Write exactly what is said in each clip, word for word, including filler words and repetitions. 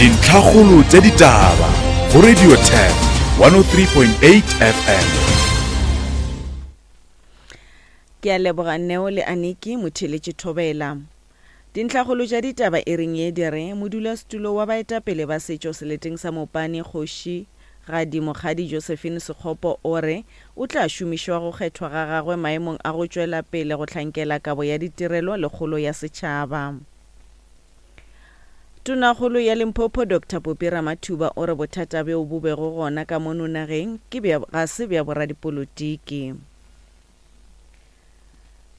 Dintlhakgolo tša ditaba go Radio Turf one oh three point eight F M. Ke a leboga Neo le Aniki motheeletši Thobela. Dintlhakgolo tša ditaba e reng ye di re modulasetulo wa baetapele ba setšo seleteng sa Mopani Kgoši Gadi Mokgadi Josephine Sekgopo o re o tla šomišwa go kgethwa ga gagwe maemong a go tšwela pele go hlankela kabo ya ditirelo le kgolo ya setšhaba. Tonakgolo ya Limpopo Doctor Popi Ramathuba o re bothata bjo bo bego gona ka mono nageng ke bja ga se bja boradipolotiki.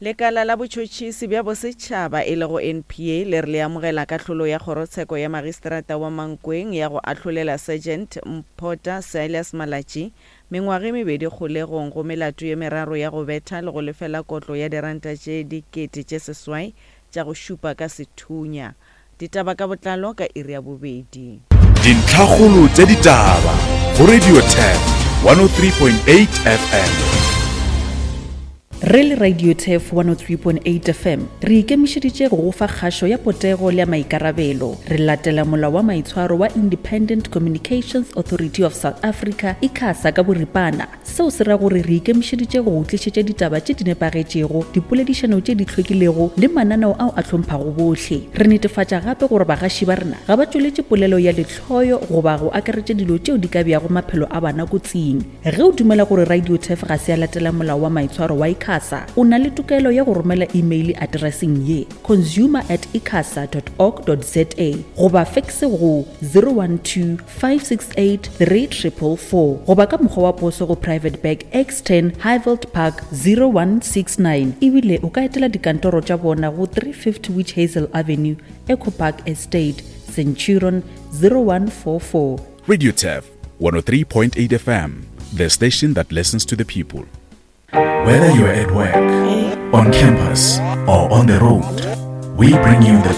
Lekala la botšhotšhisi bja bosetšhaba e lego N P A le re le amogela kahlolo ya kgorotsheko ya magistrata wa Mankweng ya go ahlolela Sergeant Mphota Silas Malatji mengwaga e mebedi kgolegong go melato ye meraro ya go betha le go lefela kotlo ya diranta tše dikete tše seswai tša go šupa ka sethunya. Ditaba ka botlalo ka iri ya bobedi. Dintlhakgolo tša ditaba go Radio Turf one oh three point eight F M. Re le Radio Turf one oh three point eight F M re ikemišeditše go go fa kgašo ya potego le ya maikarabelo. Re latela molao wa maitshwaro wa Independent Communications Authority of South Africa, ICASA ka boripana. Seo se ra gore re ikemišeditše go go tlišetša ditaba tše di nepagetšego, dipoledišano tše di hlwekilego le mananeo ao a hlomphago bohle. Re netefatša gape gore bagaši ba rena ga ba tšweletše polelo ya lehloyo goba go akaretša dilo tšeo di ka beago maphelo a bana kotsing. Ge o dumela gore Radio Turf ga se ya latela molao wa maitshwaro wa ICASA, o na le tokelo ya go romela email atereseng ye consumer at icasa dot org dot za goba fax go zero one two five six eight three triple four goba ka mokgwa wa poso go Private Bag X ten Highveld Park zero one six nine. Ebile o ka etela dikantoro tša bona go three fifty Witch Hazel Avenue, Echo Park Estate, Centurion zero one four four. Radio Turf one oh three point eight F M, the station that listens to the people. Whether you're at work, on campus, or on the road, we bring you the